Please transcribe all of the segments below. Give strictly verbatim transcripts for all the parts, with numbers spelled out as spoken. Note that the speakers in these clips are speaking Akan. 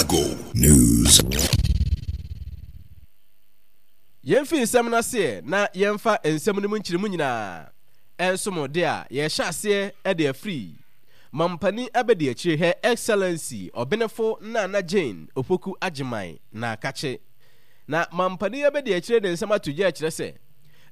Ago News. Yɛmfi nsɛm no aseɛ na yɛmfa nsɛm no mu nkyerɛmu nyinaa nso mo de a yɛhyɛ aseɛ de afiri mampanin abɛdi akyire, Her Excellency Ɔbenefo Nana Jane Opoku Agyeman na akakye na mampanin abɛdi akyire de nsɛm ato gya kyerɛ sɛ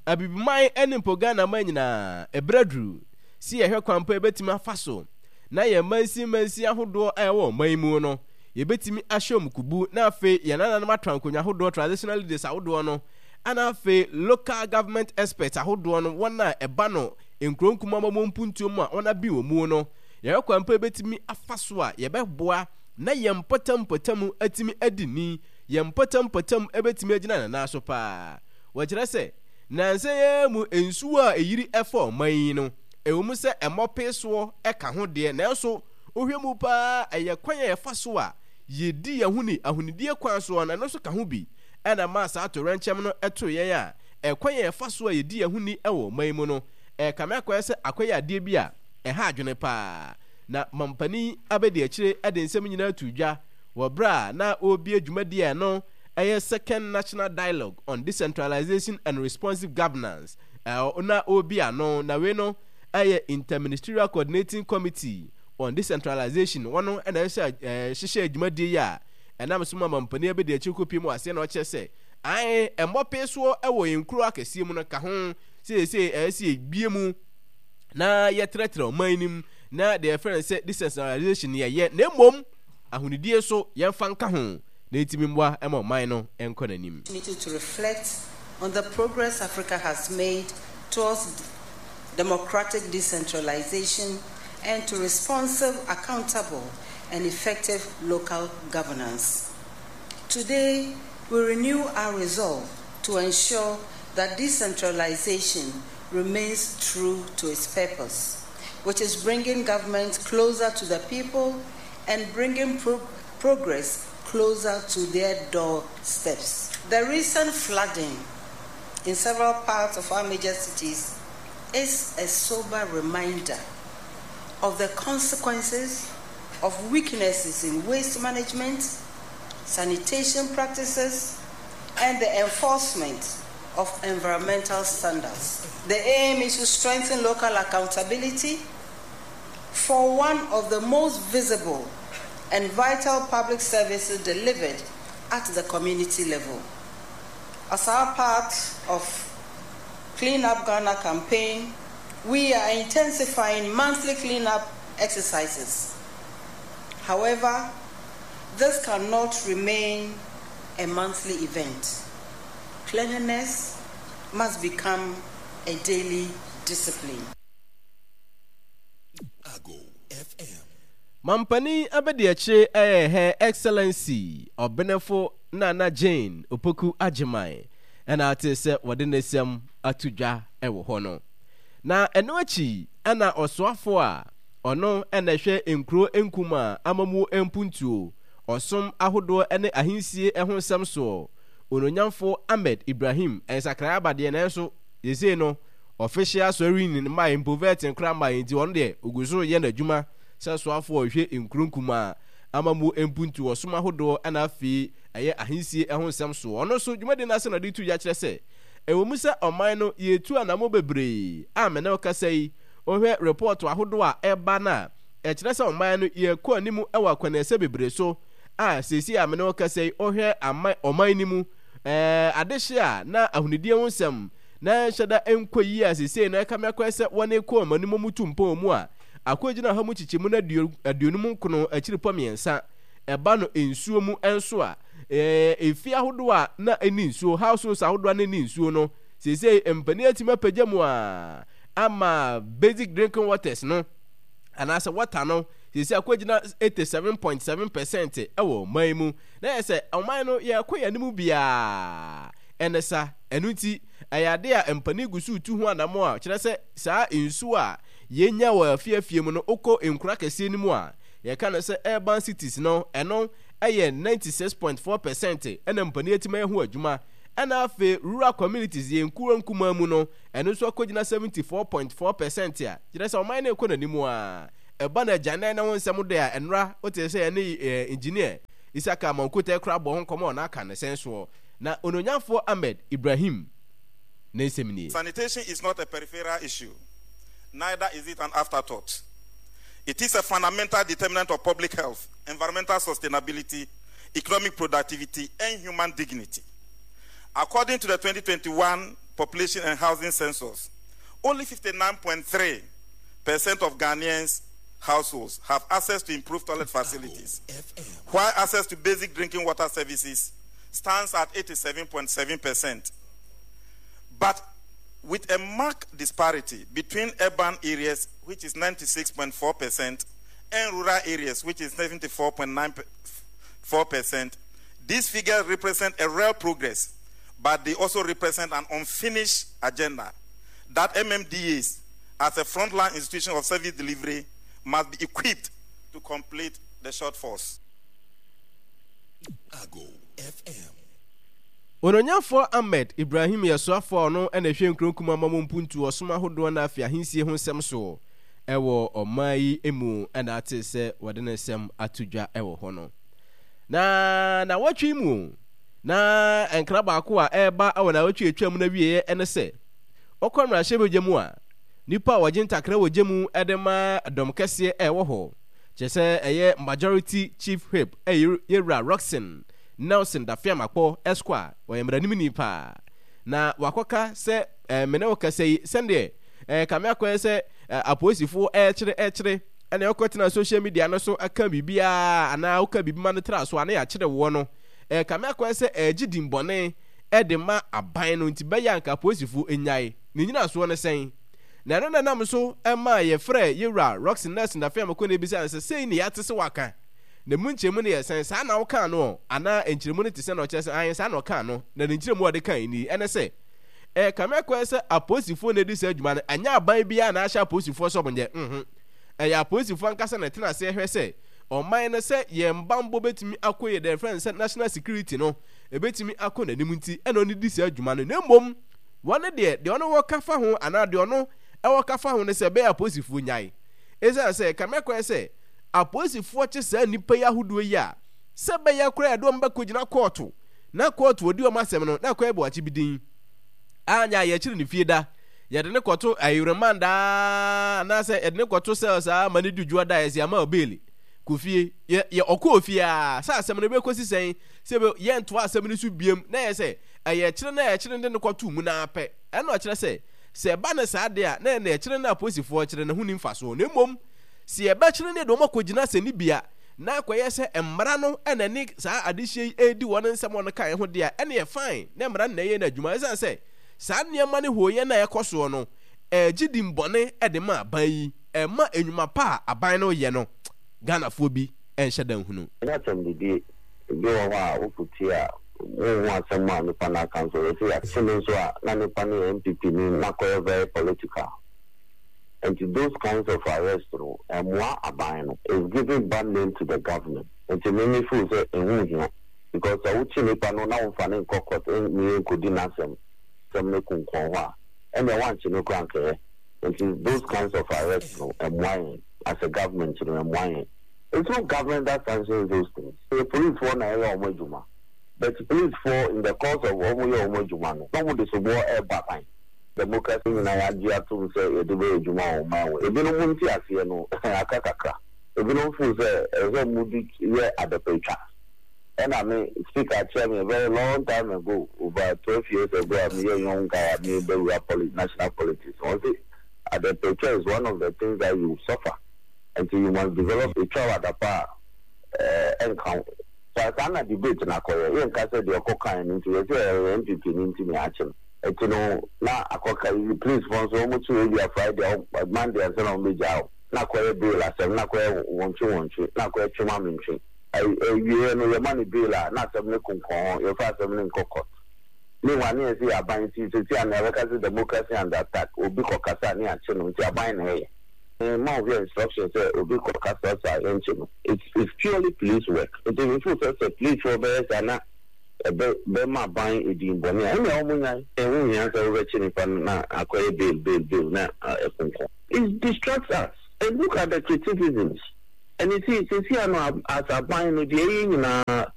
Abibiman ne mpo Ghana man nyinaa, ɛberɛ duru si yɛhwɛ kwan pa yɛbɛtumi afa so na yɛn mansin mansin ahodoɔ a ɛwɔ ɔman mu no, yɛbɛtumi ahyɛ wɔn kubu, na afei yɛn nananom atɔ nkonnwa ahodoɔ, traditional leaders ahodoɔ no, ana afei local government experts ahodoɔ no, wɔn a ɛba no nkuro nkuma ma wɔn mpuntuo mu a wɔn abi wɔn mu no, yɛhwɛ kwan pa yɛbɛtumi afa so a yɛbɛboa na yɛn mpɔtam mpɔtam atumi adi ni, yɛn mpɔtam mpɔtam ɛbɛtumi agyina ne nan so paa. Wɔkyerɛ sɛ nansa yi mu nsuo a ɛyiri ɛfa ɔman yi no, ɛwɔ mu sɛ ɛmmɔ soɔ ɛka ho deɛ, nanso wohwɛ mu paa, ɛyɛ kwan a yɛfa so a yɛdi yɛn ho ni ahonidie kwan soɔ no, ɛno nso ka ho bi ɛna maa saa atoyerɛnkyɛm no ɛto yɛn a ɛkwan a yɛfa so a yɛdi yɛn ho ni ɛwɔ ɔman mu no, ɛkame akɔyɛ sɛ akɔyɛ adeɛ bi a ɛha adwene paa. Na mampanin abɛdi akyire ɛde nsɛm nyinaa to dwa wɔ berɛ a na ɔrebie dwumadie a ɛno ɛyɛ Second National Dialogue on Decentralization and Responsive Governance ɛɛ na ɔrebi ano. Na wei no ɛyɛ Interministerial Coordinating Committee on Decentralization, wɔn ɛna ɛhyɛ ɛɛ hyehyɛ dwumadie yi a ɛnam so ma mampanin abɛdi akyire kɔpie mu aseɛ. Na ɔkyerɛ sɛ ae ɛmmɔpee soɔ ɛwɔ yɛn nkuro akɛseɛ mu no ka ho seesei ɛyɛ sɛ yɛbie mu na yɛtrɛtrɛ ɔman no mu na deɛ yɛfrɛ no sɛ decentralization yɛyɛ, na mmom ahonidie nso yɛmfa nka ho na ɛtumi mmoa ma ɔman no nkɔ n'anim. To reflect on the progress Africa has made towards democratic decentralization and to responsive, accountable, and effective local governance. Today, we renew our resolve to ensure that decentralization remains true to its purpose, which is bringing government closer to the people and bringing pro- progress closer to their doorsteps. The recent flooding in several parts of our major cities is a sober reminder of the consequences of weaknesses in waste management, sanitation practices, and the enforcement of environmental standards. The aim is to strengthen local accountability for one of the most visible and vital public services delivered at the community level. As our part of Clean Up Ghana campaign, we are intensifying monthly cleanup exercises. However, this cannot remain a monthly event. Cleanliness must become a daily discipline. Ago F M. Mampanin abɛdi akyire ɛyɛ Her Excellency Ɔbenefo Nana Jane Opoku Agyeman ɛna ate sɛ wɔde ne nsɛm ato dwa ɛwɔ hɔ no. Na ɛno akyi ɛna ɔsoafo a ɔno ɛna ɛhwɛ nkuro nkuma amamuo mpuntuo, ɔsom ahodoɔ ne ahensie ho nsɛm soɔ, Ononyamfo Ahmed Ibrahim, nsakraeɛ abadeɛ nanso yɛsei no official swearing in mmaa mpo vetting koraa mmaa, nti ɔno deɛ ogu so yɛ n'adwuma sɛ soafoɔ a ɔhwɛ nkuro nkumaa amamuo mpuntuo, ɔsom ahodoɔ ɛna afei ɛyɛ ahensie ho nsɛm soɔ. Ɔno nso dwumadi no ase na ɔde tu dwa kyerɛ sɛ ɛwɔ mu sɛ ɔman no yɛtu anamo bebree a mene ɔkasa yi, wohwɛ report ahodoɔ a ɛba no a, ɛkyerɛ sɛ ɔman no yɛkɔ anim wɔ akwanɛsɛ bebree so a seesei a mene ɔkasa yi, wohwɛ ama ɔman no mu ɛɛ adehye a na ahonidie ho nsɛm na nhyɛ da nkɔ yie a, seesei no ɛka me akɔyɛ sɛ wɔne kɔ ɔman no mu mu tu mpɔn mu a akɔgyina ha mu kyekyɛmu no aduonum nkono akyiri pɔ mmiɛnsa. Ɛba no nsuo mu nso a, ɛɛ efi ahodoɔ a na ɛni nsuo, households ahodoɔ a na ɛni nsuo no, seesei mpanin atumi apagya mu a ama basic drinking waters no anaasɛ water no seesei akɔgyina eighty-seven point seven percent ɛwɔ ɔman mu. Na yɛ sɛ ɔman no yɛkɔ yɛn anim biara ɛne sa. Ɛno nti ɛyɛ ade a mpanin gu so tu ho anamo a kyerɛ sɛ saa nsuo a yɛnya wɔ afiafie mu no, wokɔ nkuro akɛseɛ no mu a yɛka no sɛ urban cities no, ɛno ɛyɛ ninety-six point four percent ɛna mpanin atumi ayɛ ho adwuma. Ɛna afei rural communities, yɛn nkuro nkumaa mu no, ɛno nso akɔgyina seventy-four point four percent a kyerɛ sɛ ɔman no rekɔ n'anim a ɛba no agyanan na ho nsɛm de a ɛnora wote sɛ yɛne engineer Isaka Amankote kora bɔ ho nkɔmmɔ na aka ne sɛn soɔ na ononyamfoɔ Ahmed Ibrahim ne nsɛm nie. Sanitation is not a peripheral issue, neither is it an afterthought. It is a fundamental determinant of public health, environmental sustainability, economic productivity, and human dignity. According to the twenty twenty-one Population and Housing Census, only fifty-nine point three percent of Ghanaians households have access to improved toilet facilities, while access to basic drinking water services stands at eighty-seven point seven percent. But with a marked disparity between urban areas, which is ninety-six point four percent, and rural areas, which is seventy-four point nine four percent, these figures represent a real progress, but they also represent an unfinished agenda that M M D As, as a frontline institution of service delivery, must be equipped to complete the shortfalls. Ago F M. Ononyafoɔ Ahmed Ibrahim yɛ soafoɔ a ɔno ɛna ɛhwɛ nkuro nkuma ma mu mpuntu, ɔsom ahodoɔ no afei ahensie ho nsɛm so ɛwɔ ɔman yi mu, ɛna ate sɛ wɔde ne nsɛm ato dwa ɛwɔ hɔ no. Na nawɔtwe mu na nkra baako a ɛreba ɛwɔ nawɔtwe atwa mu no awieɛ ɛne sɛ ɔkɔ mmarahyɛbadwa mu a, nipa a wɔgye ntakra wɔ gye mu ɛde ma dɔm kɛseɛ ɛwɔ hɔ, kyerɛ sɛ ɛyɛ Majority Chief Whip, ɛyɛ yɛwura Rockson Nelson Dafeamekpor Esquire, ɔyɛ mmaranimni paa na wakɔka sɛ ɛɛ mene wo kasa yi sɛdeɛ ɛɛ kame akɔyɛ sɛ ɛɛ apolisifoɔ ɛɛkyerɛ ɛkyerɛ ɛna ɛkɔtena social media no so ɛka biribiara anaa woka biribi ma no tra so a na yɛakyerɛ woɔ no, ɛɛ kame akɔyɛ sɛ ɛɛgye dimbɔne ɛde ma aban no, nti bɛyɛ anka apolisifoɔ enyae ne nyinasoɔ no sɛn. Na ɛno na nam so ɛma yɛfrɛ yɛwura Rockson Nelson Dafeamekpor na ebisa no sɛ sei ne yɛate sɛ waka na mu nkyɛmu no yɛ sɛn, saa na wokaa no anaa nkyerɛmu no te sɛ na ɔkyerɛ sɛ ahen saa na ɔkaa no, na ne nkyerɛmu a ɔde kan ni ɛne sɛ ɛyɛ kame akɔyɛ sɛ apolisifoɔ na edi saa adwuma no, ɛnyɛ aban biara na ahyɛ apolisifoɔ sɛ ɔmo nyɛ mhm ɛyɛ apolisifoɔ ankasa na ɛtena ase hwɛ sɛ ɔman no sɛ yɛn bambɔ bɛtumi akɔ yɛ dɛ fɛn sɛ national security no ebɛtumi akɔ n'anim, nti ɛna ɔno di saa adwuma no. Na mmom wɔn deɛ, deɛ ɔno wɔka fa ho anaa deɛ ɔno ɛwɔ ka fa ho no sɛ ɛbɛyɛ apolisifoɔ nyae, ɛsiane sɛ kame akɔyɛ sɛ apolisifoɔ kye saa nnipa yi ahodoɔ yi a, sɛ bɛyɛ koraa yɛde wɔn bɛkɔ gyina kɔɔto na kɔɔto ɔdi wɔn asɛm no na akɔyɛ bɔakye bi din anya a yɛkyerɛ ne fie da, yɛde ne kɔto ayerɛman daa anaasɛ yɛde ne kɔto cells a ma ne du dwoɔ da, yɛsɛ ama bail kɔ fie, yɛ yɛ ɔkɔɔ fie a, sɛ asɛm no bɛkɔsi sɛn sɛ yɛntoa asɛm no so biem na yɛ sɛ ɛyɛ kyerɛ na yɛkyerɛ de ne kɔto mu na apɛ. Ɛna ɔkyerɛ sɛ sɛ ɛba ne saa deɛ a, na ɛna ɛkyerɛ no apolisifoɔ kyerɛ ne ho ni mfasoɔ, na mmom sɛ yɛbɛkyerɛ ne de wɔn akɔgyina sɛ ne bia na akɔyɛ sɛ mmara no ɛna ne saa adehyɛ yi ɛredi wɔn nsɛm wɔn kan ho deɛ a, ɛna yɛ fine na mmara no na ɛyɛ no adwuma, ɛsiane sɛ saa nneɛma ne hooyɛ na ɛkɔ soɔ no ɛgye di mbɔne ɛde ma aban yi, ɛma enwuma pa a aban no yɛ no, Ghanafoɔ bi ɛnhyɛ da nhunu. Ɛnyɛ asɛm didie. Ebi wɔ hɔ a woputi a wonhu asɛm a nipa no aka nso yɛsɛ yɛakye no nso a, na nipa no yɛ N P P ni na kɔyɛ very political. Nti those kinds of arrest no ɛmmoa aban no, is giving bad name to the government. Nti me me feel sɛ ɛho hia because sɛ wokye nipa no na womfa ne nkɔ court ne nkɔdi n'asɛm sɛm no kunkɔn hɔ a, ɛnneɛ woankye no koraa nkɛyɛ. Nti those kinds of arrest no ɛmmoa yɛn as a government no, ɛmmoa yɛn. It's not government that sanctions those things. Ɛyɛ policefoɔ na ɛyɛ wɔn adwuma, but policefoɔ in the course of wɔn yɛ wɔn adwuma no na wɔn de soboɔ ɛreba aban. Democracy nyinaa yɛagye atom sɛ yɛde bɛyɛ adwuma wɔ ɔman wɔ ebinom nte aseɛ no aka kakra, ebinom feel sɛ ɛsɛ sɛ wɔn di yɛ adapatwa. Ɛna me Speaker kyerɛ me a very long time ago, over twelve years ago, a meyɛ young guy a mebɛwura poli national politics, wɔn sɛ adapatwa is one of the things that you suffer, nti you must develop etwa wɔ adapa a ɛɛ ɛnka ho. Saa saa na debate na akɔyɛ, yɛnka sɛ deɛ ɔkɔ kan no nti yɛsɛ ɛyɛ N P P no nti na yɛakye no. Nti no na akɔka yi police fɔ nso wɔn kyi ebi a Friday a, Monday ansa na wɔn bɛgya o, na akɔyɛ bail asɛm, na akɔyɛ wɔntwe wɔntwe, na akɔyɛ twema mentwe. Ɛwieɛ no yɛma no bail a, na asɛm no konkɔn hɔ, yɛfa asɛm no nkɔ court. Meanwhile ne yɛn sɛ yɛ aban nti sɛsi a na yɛbɛka sɛ democracy under attack, obi kɔ kasa ne yɛakye no, nti aban na ɛyɛ ma wohwɛ instruction sɛ obi kɔ kasa sa yɛnkye no. it's it's purely police work, nti mefo sɛ sɛ police foɔ bɛyɛ saa na ɛbɛ bɛma aban edin bɔne a, ɛnna wɔn nyan. Ɛho hia sɛ wobɛkye nipa no na akɔyɛ bail bail bail na ɛkonkɔn. It distracts us, and look at the criticisms, and you see sisi ano as aban no deɛ ɛyɛ nyinaa.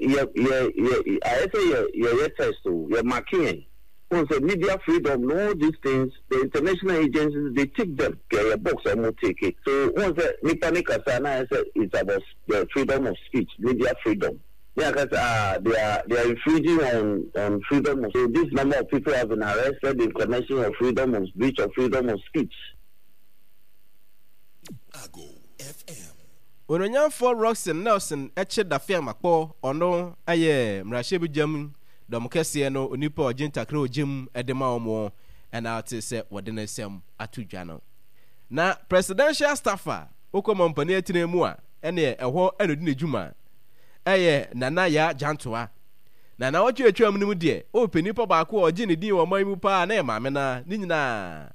yɛ yɛ yɛ ayɛ sɛ yɛ yɛyɛ test o, yɛ mark yɛn. Wɔn sɛ media freedom no, all these things, the international agencies, they take them. Yɛyɛ box a wɔn take it. So wɔn sɛ nipa ne kasa na ayɛ sɛ it's about the freedom of speech, media freedom. Ne aka sɛ, ah, they are they are infringing on on freedom of, so this number of people have been arrested in connection of freedom of breach of freedom of speech. Ago F M. Ononyamfoɔ Rockson Nelson Kye Dafeamakpɔ, ɔno yɛ mmarahyɛbadwam dɔm kɛseɛ no onipa a ɔgye ntakra a ɔgye mu de ma wɔn na ɔte sɛ wɔde ne nsɛm ato dwa no. Na presidential staff a wokɔ mampanin atena mu a ɛneɛ ɛhɔ na ɔdi ne dwuma ɛyɛ Nana Yaa Gyantoa. Na nawɔtwe atwam no mu deɛ wopɛ nipa baako a ɔgye ne din wɔ ɔman yi mu paa na ɛyɛ maame no ara, ne nyinaa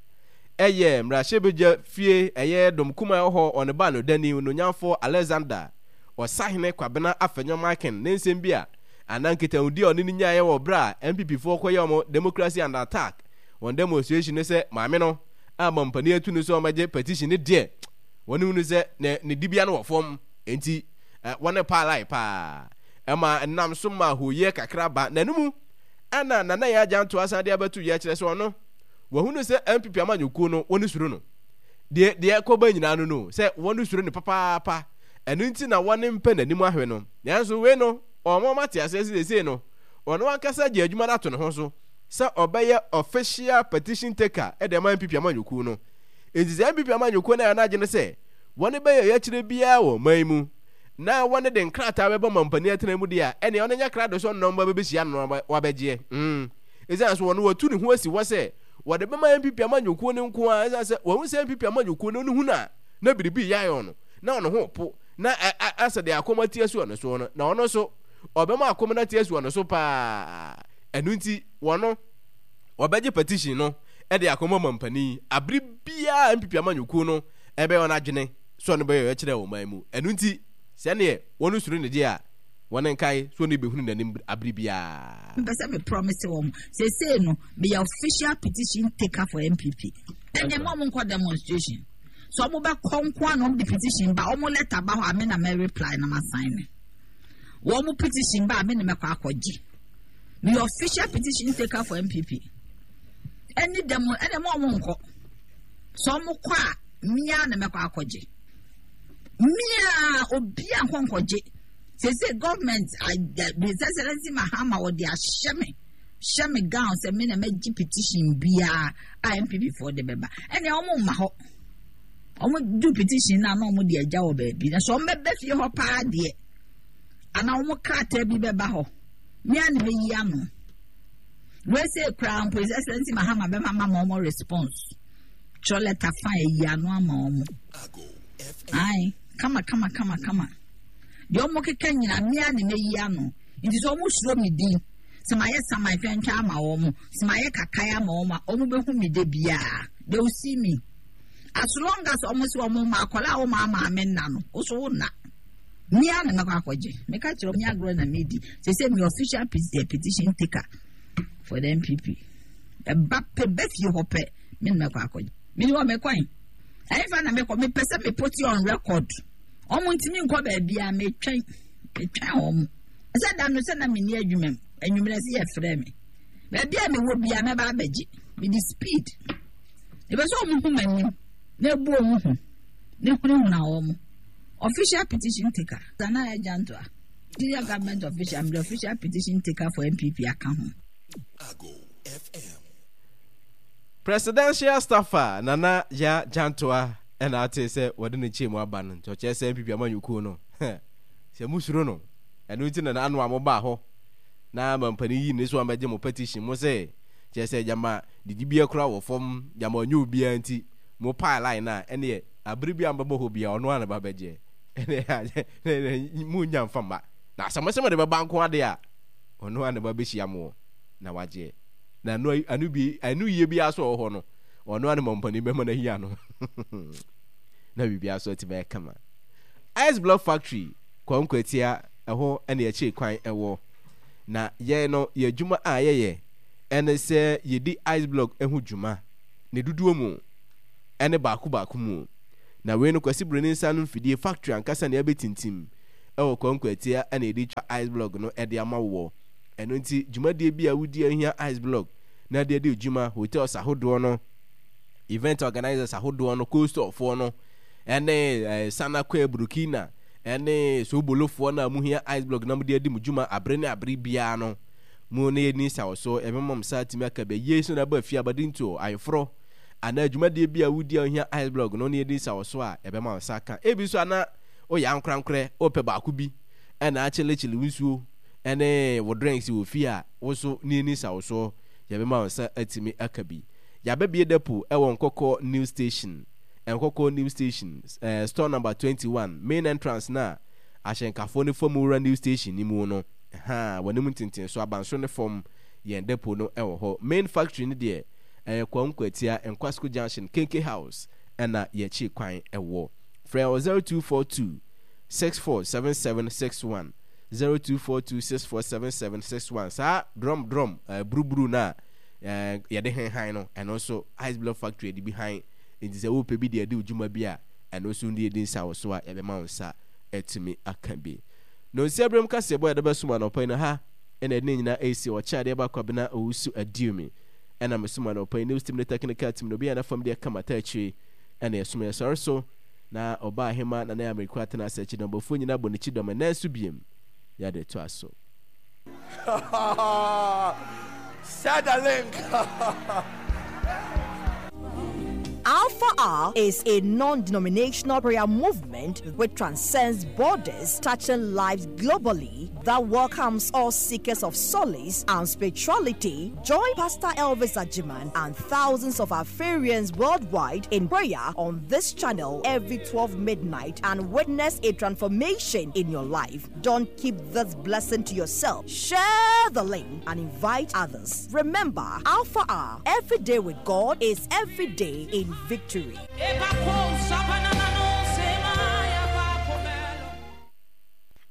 ɛyɛ mmarahyɛbadwa fie ɛyɛ dɔm kumaa ɛwɔ hɔ ɔne ba no dani Ononyamfoɔ Alexander Ɔsahene Kwabena Afenyo-Markin ne nsɛm bi a anaa nkitahodi a ɔne no nyaeɛ wɔ berɛ a N P P foɔ kɔyɛ wɔn Democracy Under Attack wɔn demonstration no sɛ maame no a mampanin atu no sɛ ɔmmɛgye petition no deɛ wɔn hunu sɛ ne ne dibea no wɔ fam enti wɔne paa lai paa ɛma ɛnam so ma hooyɛ kakra ba na ɛno mu ɛna Nana Yaa Gyantoa asan de abɛto dwa kyerɛ sɛ ɔno wahunu sɛ N P P amanyɔkuo no wɔn suro no deɛ deɛ ɛkɔba nyinaa no no sɛ wɔn suro no papaapa, ɛno nti na wɔn mpɛ n'anim ahwɛ no. Nanso wei no wɔn wɔn ate aseɛ sɛ seesei no ɔno ankasa gye adwuma no ato ne ho so sɛ ɔbɛyɛ official petition taker de ama N P P amanyɔkuo no. Enti sɛ N P P amanyɔkuo no ayɛ wɔn adwene sɛ wɔn bɛyɛ ɔyɛkyerɛ biara wɔ ɔman yi mu na wɔn de nkrataa bɛbɔ mampanin atena mu deɛ a, ɛnneɛ ɔno nyɛ krado sɛ ɔno na wɔn bɛbɛhyia no na wabɛgyeɛ. Mm. Ɛsiane so wɔn wɔatu ne ho asi hɔ sɛ wɔde bɛma N P P amanyɔkuo no nko ara, ɛsiane sɛ wɔahu sɛ N P P amanyɔkuo no ɔno hunu a na biribi reyɛ ayɛ ɔno, na ɔno ho po, na asɛ deɛ akɔm ate asi ɔno soɔ no, na ɔno nso ɔbɛma akɔm no ate asi ɔno so paa. Ɛno nti wɔno wɔbɛgye petition no de akɔma mampanin abere biara N P P amanyɔkuo no ɛbɛyɛ wɔn adwene sɛ ɔno bɛyɛ ɔyɛkyerɛ wɔ ɔman mu. Ɛno nti sɛneɛ wɔn suro ne deɛ a wɔn nkae so ɔno bɛhunu n'anim abere biara. Mpɛ sɛ me promise wɔn seesei no meyɛ official petition taker for N P P. Ɛnna mo a mo nkɔ demonstration so ɔmo bɛ kɔ nko a na ɔmo de petition ba, ɔmo letter ba hɔ a, me na mɛ reply na ma sign ne. Wɔn mo petition ba a, me na mɛ kɔ akɔgye. Meyɛ official petition taker for N P P. Ɛne demo ɛnna mo a mo nkɔ so ɔmo kɔ a, mmea na mɛ kɔ akɔgye. Mmea obi a nkɔ nkɔgye sese government, His Excellency Mahama, wɔde ahyɛ me hyɛ me gown sɛ me na mɛgye petition biara a N P P foɔ de bɛba. Ɛnna wɔn mma hɔ, wɔn do petition na na wɔn de agya wɔ baabi na so wɔn bɛbɛ fie hɔ paa deɛ anaa wɔn krataa bi bɛba hɔ, mmea na mɛyi ano. Wei koraa mpo, His Excellency Mahama bɛma ma ma wɔn response, twerɛ letter fa ayi ano ama wɔn. Ayi kama kama kama kama deɛ wɔn keka nyina, mmea na mɛyi ano. Nti sɛ wɔn suro mi din sɛ ma yɛ saman twɛntwɛn ama wɔn, sɛ ma yɛ kakae ama wɔn a, wɔn bɛhu mi de biara, they will see me as long as wɔn sɛ wɔn ma akɔla a wɔn ama ame nna no woso wɔn nna. Mmea na mɛkɔ akɔgye. Meka kyerɛ wɔn agorɔ na medi sɛ sɛ mi official petition taker for the N P P. Ɛba pɛ bɛ fie hɔ pɛ, me na mɛkɔ akɔgye. Mi ni wɔ mɛkɔn ɛyɛfa na mɛkɔ. Mepɛ sɛ me put on record, wɔn ntumi nkɔ baabi a metwɛn metwɛn wɔn sɛ da no sɛ na me ni adwuma mu anwummerɛ sɛ yɛfrɛ me baabi a mewɔ bia mɛba abɛgye. Mede speed ebe sɛ wɔn hu m'anim na ebu wɔn ho na ehunahuna wɔn. Official petition taker Nana Gyantoa, senior government official, I'm the official petition taker for N P P aka ho. Ago F M. Presidential staffer Nana Ya Gyantoa ɛna ate sɛ wɔde ne nkyɛn mu aba no. Nti ɔkyerɛ sɛ N P P amanyɔkuo no sɛ musuro no, ɛno nti na n'ano a mobaa hɔ na mampanin yi ne so a mɛgye mo petition mo sɛ kyerɛ sɛ gyama didibea kora wɔ fam, gyama ɔnyɛ obiara nti mo paa line a ɛneɛ abere bi a mbɛbɔ hɔ bia ɔno a na ba bɛgyeɛ ɛne mu nya mfa mma na asɛm sɛ mode bɛba nko ade a ɔno a na ba bɛhyia mo na wagyeɛ na ano ano bi ano yie bi aso wɔ hɔ no, ɔno a ne mampanin bɛma no ahia no na biribi aso atumi ayɛ kama. Ice Block Factory Kwankwatia ɛhɔ ɛne akyire kwan ɛwɔ na yɛn no yɛ adwuma a yɛyɛ ɛne sɛ yɛdi ice block ho dwuma ne dodoɔ mu ɛne baako baako mu. Na wei no Kwasi Buroni nsa no mfidie factory ankasa na yɛabɛtintim Ɛwɔ Kwankwatia ɛna yɛde twa ice block no ɛde ama woɔ. Ɛno nti dwumadie bi a wodi ahia ice block na de adi dwuma, hotels ahodoɔ no, event organizers ahodoɔ no, coastalfoɔ no, ɛne eh, Sanakwe Burkina, ɛne Sobolofoɔ no a muhia ice block na mode adi mo dwuma abere ne abere biara no, mo ne yɛni nsa wɔ so, yɛbɛma mo sa atumi aka bɛ yie so na aba fie abadintuo, ayeforɔ, anaa dwumadie bi a wodi a wohia ice block no ne yɛdi nsa wɔ so a, yɛbɛma wo nsa aka. Ebi nso ana woyɛ ankorankorɛ, wopɛ baako bi ɛna akyelekyele wo nsuo ɛne wo drinks wɔ fie a, wo nso ne yɛni nsa wɔ soɔ, yɛbɛma wo nsa atumi aka bi. Yɛabɛbie depo ɛwɔ Nkɔkɔ New Station, Nkɔkɔ New Station, eh, store number twenty-one, main entrance na ahyɛnkafoɔ no fam wura New Station ni mu no, ha, w'anim ntenten so, abansoro ne fam, yɛn depo no ɛwɔ hɔ. Main factory no deɛ, ɛyɛ Kwankwatia, Nkwasco Junction, Kenke House, ɛna yɛkyi kwan ɛwɔ. Frɛ wɔ zero two four two, six four seven seven six one, zero two four two six four seven seven six one. Saa drum drum, eh, buruburu na eh, yɛde henhan no, ɛno nso Ice Block Factory de bi han. Nti sɛ wopɛ bi de adi wo dwuma bi a, ɛno nso ne yɛdi nsa wɔ so a, yɛbɛma wo nsa atumi aka bi. No nsi aberɛm kaseɛbɔ a yɛde bɛsom anɔpa yi no ha, ɛna ɛde ne nyinaa ɛresi ɔkyɛ adeɛ baako abena owusu aduomi. Ɛna mesom anɔpa yi news team ne technical team no obi a n'afam deɛ kama ta akyire ɛna ɛsom yɛsɔre so na ɔbaa ahema na na yɛ atena ase akyi dɔmbɔfoɔ nyinaa bɔ n'akyi dɔm ɛnɛ nso biem yɛde to aso. Share the link. Alpha R is a non-denominational prayer movement which transcends borders, touching lives globally, that welcomes all seekers of solace and spirituality. Join Pastor Elvis Ajiman and thousands of Alpharians worldwide in prayer on this channel every twelve midnight and witness a transformation in your life. Don't keep this blessing to yourself. Share the link and invite others. Remember, Alpha R, every day with God is every day in victory.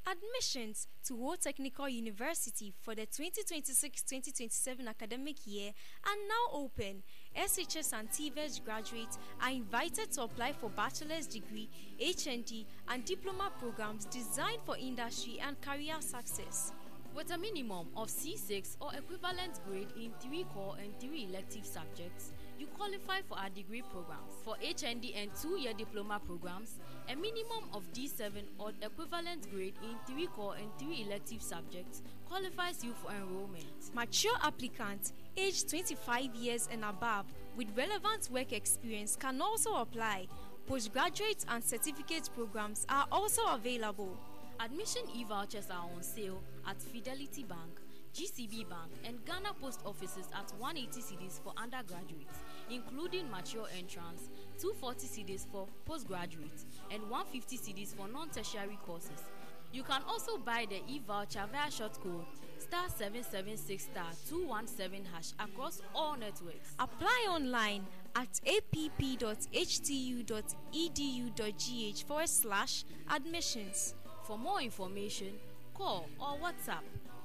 Admissions to Ho Technical University for the twenty twenty-six twenty twenty-seven academic year are now open. S H S and T V E S graduates are invited to apply for bachelor's degree, H N D, and diploma programs designed for industry and career success. With a minimum of C six or equivalent grade in three core and three elective subjects, you qualify for our degree programs. For H N D and two-year diploma programs, a minimum of D seven or equivalent grade in three core and three elective subjects qualifies you for enrollment. Mature applicants aged twenty-five years and above with relevant work experience can also apply. Postgraduate and certificate programs are also available. Admission e-vouchers are on sale at Fidelity Bank, G C B Bank, and Ghana Post Offices at one eighty cedis for undergraduates, including mature entrance, two forty cedis for postgraduates, and one fifty cedis for non-tertiary courses. You can also buy the e-voucher via short code star seven seven six star two one seven hash across all networks. Apply online at a p p dot h t u dot e d u dot g h forward slash admissions. For more information, call or WhatsApp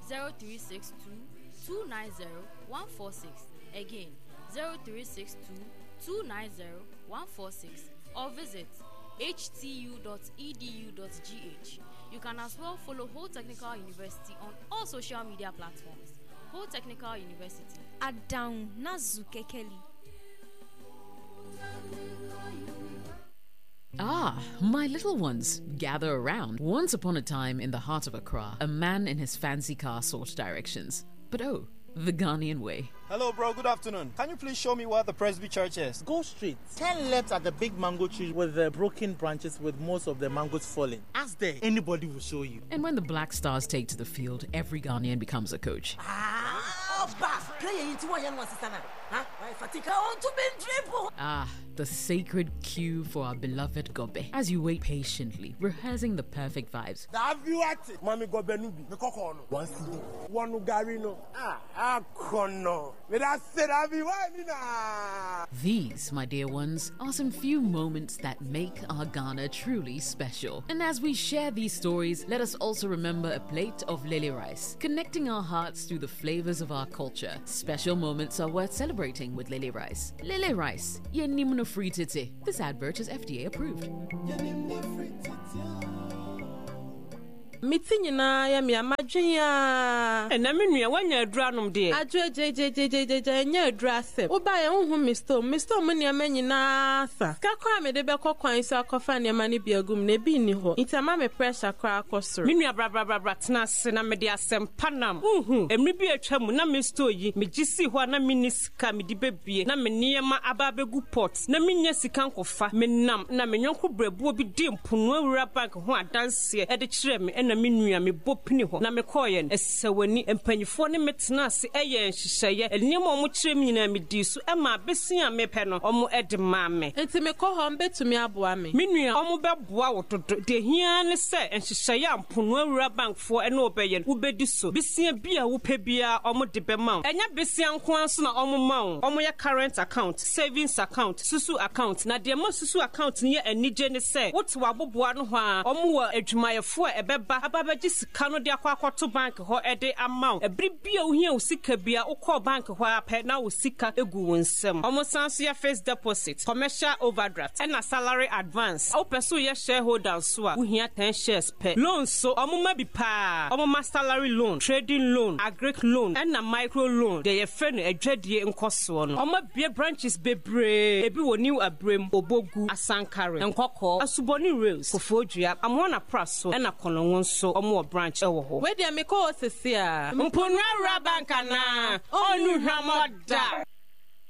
zero three six two, two nine zero, one four six. Again, zero three six two, two nine zero, one four six, or visit h t u dot e d u dot g h. You can as well follow Ho Technical University on all social media platforms. Ho Technical University. Adown Nazu Kekeli. Ah, my little ones, gather around. Once upon a time in the heart of Accra, a man in his fancy car sought directions. But oh, the Ghanaian way. Hello, bro. Good afternoon. Can you please show me where the Presby Church is? Go straight. Turn left at the big mango tree with the broken branches with most of the mangoes falling. Ask there. Anybody will show you. And when the Black Stars take to the field, every Ghanaian becomes a coach. Ah, Ah, the sacred queue for our beloved Gobe. As you wait patiently, rehearsing the perfect vibes. These, my dear ones, are some few moments that make our Ghana truly special. And as we share these stories, let us also remember a plate of lily rice, connecting our hearts through the flavors of our culture. Special moments are worth celebrating with lily rice. Lily rice, yenimno free titi. This advert is F D A approved. Me ti nyinaa yɛ me a madwen a. Ɛna me nua woanya aduru anom deɛ. Adwo gyegyegyegyegye ɛnyɛ aduru asɛm. Wobaeɛ wohu me store me store mu nneɛma nyinaa sa. Sika koraa mede bɛkɔ kwan so akɔfa nneɛma no bi agu mu na ebi nni hɔ. Nti ama me pressure koraa kɔ soro. Me nua brabrabrabra tena ase na mede asɛm pa nam. Wohu mmere bi atwa mu na me store yi megye sii hɔ a na menni sika mede bɛbie na me nneɛma aba abɛgu pot na menya sika nkɔfa. Menam na me nyɔnko brɛboɔ bi di mpono awura bank ho adanseɛ ɛde kyerɛ me ɛna me nua mebɔ pini hɔ na mekɔɔyɛ no ɛsɛ w'ani mpanyinfoɔ ne me tena ase ɛyɛ nhyehyɛeɛ nneɛma a ɔmo kyerɛ me nyinaa medii so ɛma abesi a mepɛ no ɔmo ɛde maa me. Nti mekɔ hɔ mbɛtumi aboa me. Me nua ɔmo bɛboa wo dodo deɛ hia ne sɛ nhyehyɛeɛ a mpono awura bankfoɔ ɛne wɔbɛyɛ no wobɛdi so besia bi a wopɛ biara ɔmo de bɛma wo ɛnyɛ besia nko ara so na ɔmo ma wo ɔmo yɛ current account savings account susu account na deɛ ma susu account no yɛ anigye ne sɛ wote w'aboboa no hɔ a ɔmo wɔ adwumayɛfoɔ a ɛbɛba aba abɛgye sika no de akɔ akɔto bank hɔ ɛde ama wo ɛbere bi a wohia wo sika bi a wokɔɔ bank hɔ a pɛ na wo sika egu wo nsam ɔmo san so yɛ fixed deposit commercial overdraft ɛna salary advance wopɛ so yɛ shareholder nso a wohia ten shares pɛ loan so ɔmo ma bi paa ɔmo ma salary loan trading loan agric loan ɛna micro loan deɛ yɛfrɛ no adwadie nkɔsoɔ no ɔmo abue branches bebree ebi wɔ new abrem obogu asankare nkɔkɔɔ asubɔne rails kofoɔdua amoana pra so ɛna kɔnɔngo nso ɔmo wɔ branch ɛwɔ hɔ. Wei deɛ mekɔ hɔ sesi a. Mpono awura bank anaa ɔnu hwamɔ da.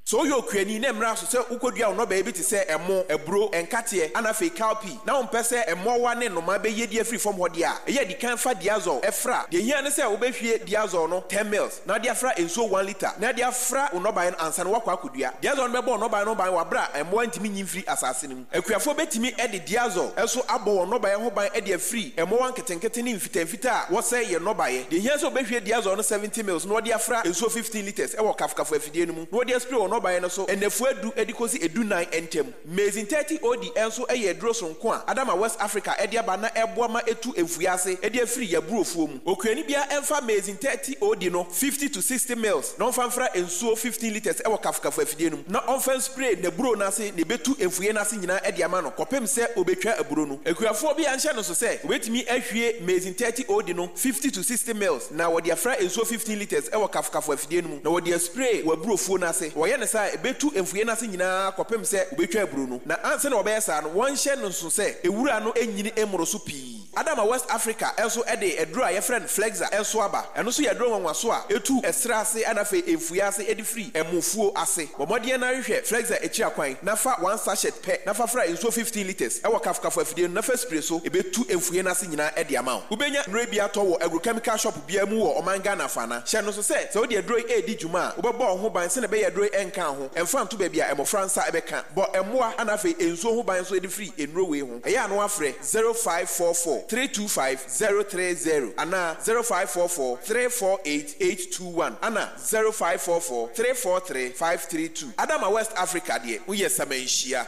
Sɛ woyɛ okuani na mmerɛ so sɛ wokɔdua wo nnɔbaeɛ bi te sɛ ɛmo, aburo, nkateɛ, ana afei cowpea na wompɛ sɛ mmoawa ne nnoma bɛyɛ di afiri fam hɔ deɛ a, ɛyɛ adi kan fa diazole ɛfra. Deɛ hia ne sɛ wobɛhwie diazole no ten mils na wode afra nsuo one litre na de afra wo nnɔbaeɛ no ansa na woakɔ akɔdua. Diazole no bɛbɔ wo nnɔbaeɛ no ban wɔ aberɛ a mmoa ntumi nyi mfiri asase no mu. Akuafoɔ bɛtumi de diazole nso abɔ wɔn nnɔbaeɛ ho ban de afiri mmoawa nketenkete ne mfitamfita a wɔsɛe yɛn nnɔbaeɛ. Deɛ hia sɛ wobɛhwie diazole no seventy mils na wɔde afra nsuo fifteen litres wɔ kafokafo afidie no mu na wɔde aspray wɔ nnɔbaeɛ no so nnafua du de kɔsi edu nan ntam. Maize thirty O D nso yɛ aduro sononko a Adama West Africa de aba na ɛboa ma etu mfuiɛ ase de afiri yɛaburofuo mu. Okuani biara mfa Maize thirty O D no fifty to sixty mils na ɔmfa mfra nsuo fifteen litres wɔ kafokafo afidie no mu na ɔmfa nspray n'aburo no ase na ebetu mfuiɛ no ase nyinaa de ama no kɔpem sɛ obetwa aburo no. Akuafoɔ bi anhyɛ no so sɛ obetumi ahwie Maize thirty O D no fifty to sixty mils na wɔde afra nsuo fifteen litres wɔ kafokafo afidie no mu na wɔde aspray wɔ aburofuo no ase. Wɔyɛ no saa a, ebetu mfuiɛ no ase nyinaa kɔpem sɛ obetwa aburo no. Na ansa na wɔbɛyɛ saa no, wɔnhyɛ no nso sɛ ewura no nyini mmoro so pii. Adama West Africa nso de aduro a yɛfrɛ no Flexa nso aba. Ɛno nso yɛ aduro nwanwaso a etu ɛserɛ ase ɛna afei mfuiɛ ase de firi ɛmofuo ase. Bɔ mmɔden na hwehwɛ Flexa akyiri akwan na fa one sachet pɛ na fa fra nsuo fifteen litres ɛwɔ kafokafo afidie no na fa spray so, ebetu mfuiɛ no ase nyinaa de ama wo. Wobɛnya nnuro bi atɔ wɔ agrochemical shop biara mu wɔ ɔman Ghana afaana. Hyɛ no nso sɛ sɛ wode aduro yi redi dwuma a, wobɛbɔ wo ho ban sɛnea ɛbɛyɛ aduro yi ɛnka ho, ɛmfa nto baabi a mmɔfra nsa bɛka. Bɔ mmoa ana afei nsuo ho ban nso de firi nnuro wei ho. Ɛyɛ a na woafrɛ zero five four four three two five zero three zero anaa zero five four four three four eight eight two one ana zero five four four three four three five three two. Adama West Africa deɛ woyɛ samanhyia.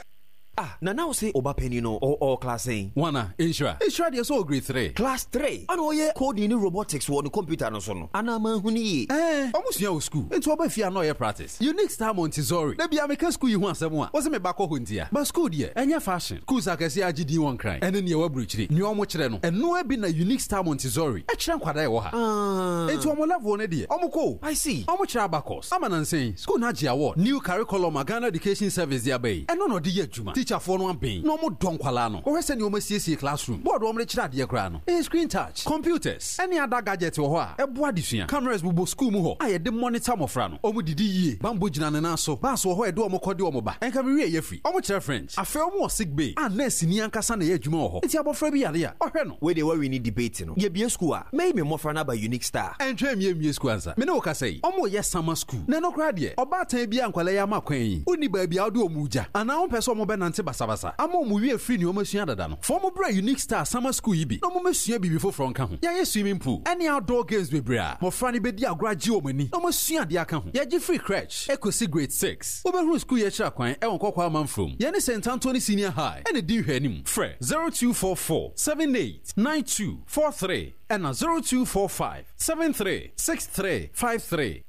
Ah, Nana wo se ɔba panyin no ɔ ɔ class sɛn? Wana, Nhyira. Nhyira deɛ sɛ ɔ grade three. Class three? Ana ɔyɛ coding ne robotics wɔ ne computer no so no? Anaa manhu no yie? Ɛɛ, ɔmo sua wɔ school. Nti ɔba fie a na ɔyɛ practice. Unique Star Montessori. Da bia meka school yi ho asɛm a, wɔse me ba kɔ hɔ ntia. But school deɛ, ɛnyɛ fashion. Schools akɛseɛ agye din wɔ Nkran, ɛne nea ɛwɔ aburokyire. Nea ɔmo kyerɛ no, ɛnoa bi na Unique Star Montessori ɛkyerɛ nkwadaa ɛwɔ ha. Ah. Nti ɔmo level no deɛ, ɔmo kɔ o. I see. Ɔmo kyerɛ abacus. Ama nansa school no agye award. New curriculum a Ghana Education Service de aba yi, ɛno na ɔde yɛ adwuma. Teacherfoɔ no aben na ɔmo dɔ nkwalaa no. Wɔhwɛ sɛnea ɔmo asiesie classroom. Board a ɔmo de kyerɛ adeɛ koraa no, ɛyɛ screen touch. Computers ɛne other gadget wɔ hɔ a ɛboa adesua. Cameras bobɔ school mu hɔ a yɛde monitor mmɔfra no. Ɔmo didi yie. Bambɔ gyina ne nan so. Bus wɔ hɔ a yɛde ɔmo kɔ de ɔmo ba. Ɛnka me wie yɛ firi. Ɔmo kyerɛ French. Afei ɔmo wɔ sick bay a nurse ni ankasa na ɛyɛ adwuma wɔ hɔ. Nti abɔfra bi yare a, ɔhwɛ no. Wei deɛ woawi debate no. Yɛbie school a, mɛyi me mmɔfra no aba Unique Star. Ɛntwɛn mie mie school ansa. Me ne wo kasa yi, ɔmo yɛ summer school. Na ɛno koraa deɛ, ɔbaatan bi a nkwalaa yi ama kwan yi, wonni baabi a wode ɔmo gya. Anaa wompɛ sɛ ɔmo bɛnante basabasa. Ama ɔmo wie firi nea ɔmo asua dada no. Fa ɔmo brɛ Unique Star summer school yi bi na ɔmo mɛsua biribi foforɔ nka ho. Yɛayɛ swimming pool ɛne outdoor games bebree a mmɔfra no bɛdi agorɔ agye wɔn ani na ɔmo asua adeɛ aka ho. Yɛgye free crèche ekosi grade six. Wobɛhunu school yi akyiri akwan ɛwɔ Nkɔkɔɔ Amanfrom. Yɛne Saint Anthony Senior High ɛna di nhwɛanim. Frɛ zero two four four seven eight nine two four three ɛna zero two four five seven three six three five three.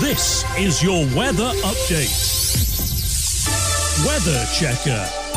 This is your weather update. Weather Checker.